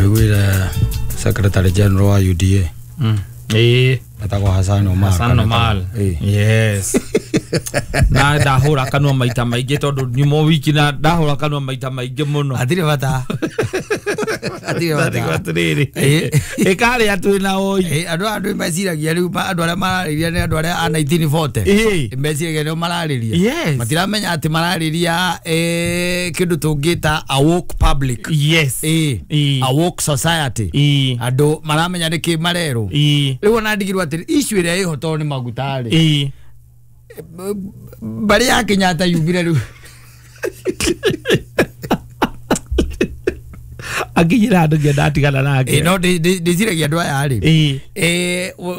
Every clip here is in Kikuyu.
Wĩguire Secretary General wa UDA etagwo Hassan Omar. Hassan kana Omar. Yes. Na ndahũra kanua maita maingĩ tondũ nyuma wiki na ndahũra kanua maita maingĩ mũno. Hatirĩ bata. Hatirĩ bata. Atĩrĩrĩ, ĩkarĩa twĩ na oi. Andũ aya andũ meciragia rĩu andũ arĩa mararĩria nĩ andũ arĩa a 1940. Meciragia nĩo mararĩria. Matiramenya atĩ mararĩria kĩndũ tũngĩta a woke public. A woke society. Andũ maramenya nĩkĩ marerwo. Rĩu ona ndigirwo atĩrĩ issue ĩrĩa ĩho tondũ nĩ maguta rĩ. Mbarĩ ya Kenyatta yumire rĩu. Akinyĩra andũ nginya ndatigana nake. No ndĩciragia andũ aya rĩ,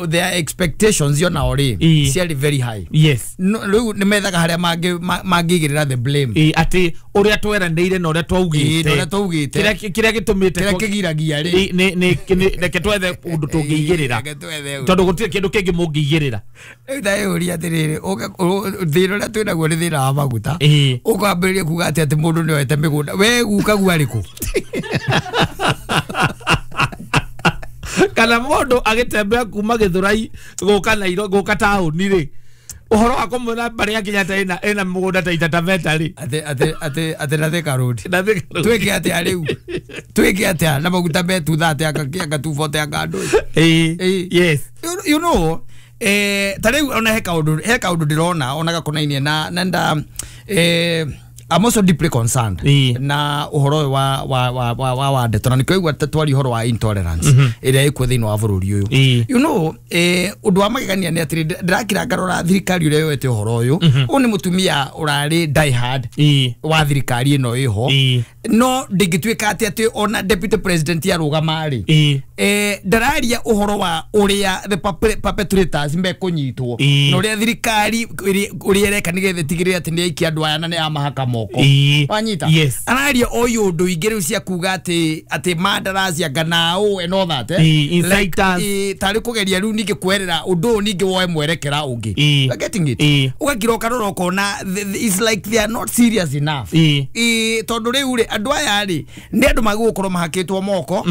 their expectations yo nao rĩ ciarĩ very high. No, rĩu nĩ methaga harĩa mangĩigĩrĩra the blame. Atĩ ũrĩa tweranĩire na ũrĩa Na ũrĩa twaugĩte twaugĩte. Kĩrĩa gĩtũmĩte kĩrĩa kĩgiragia rĩ. Reke twethe ũndũ tũngĩigĩrĩra. Reke twethe ũndũ. Tondũ gũtirĩ kĩndũ kĩngĩ mũngĩigĩrĩra. Rĩu ndeyũria atĩrĩrĩ, thĩna ũrĩa twĩnaguo nĩ thĩna wa maguta. Ũkwambĩrĩria kuga atĩ mũndũ nĩ oete mĩgũnda, we guka arĩkũ? Kana mũndũ agĩtembea kuma Gĩthũrai gũka Nairo gũka taũni rĩ, ũhoro wa kũmwĩra mbarĩ ya Kenyatta ĩna mũgũnda ta Taita Taveta rĩ. Atĩ na Thika Road. Na Thika Road. Twĩke atĩa rĩu? Twĩke atĩa na maguta me 230 anga 240 anga andũ? You know, ta rĩu ona he kaũndũ ndĩrona ona gakonainie na nda I'm also deeply concerned na ũhoro ũyũ wa ndeto na nĩkĩo igua twari ũhoro wa intolerance ĩrĩa ĩkuo thĩinĩ wa bũrũri ũyũ. Ũndũ wa magegania nĩ atĩrĩ, ndĩrakira ngarora thirikari ũrĩa yoete ũhoro ũyũ. Ũyũ nĩ mũtumia ũrarĩ die hard wa thirikari ĩno ĩho. No ndĩngĩtuĩka atĩ ona deputy president arũgama rĩ, ndararia ũhoro wa ũrĩa the perpetrators mekũnyitwo na ũrĩa thirikari ũrĩa ĩreka nĩgetha ĩtigĩrĩre atĩ nĩ aikia andũ aya na nĩ yamahaka moko. Wanyita? Yes. Araria o ũndũ ingĩ rĩu cia kuga atĩ mandarasi anga nao and all that. Inciters. Like, tarĩ kũgeria rĩu ningĩ kwerera ũndũ ũyũ ningĩ woe mwerekera ũngĩ. Ĩĩ. You are getting it? Ĩĩ. Ũgakira ũkarora ũkona it's like they are not serious enough. Tondũ rĩu rĩ, andũ aya rĩ nĩ andũ magĩgũkorwo mahakĩtwo moko.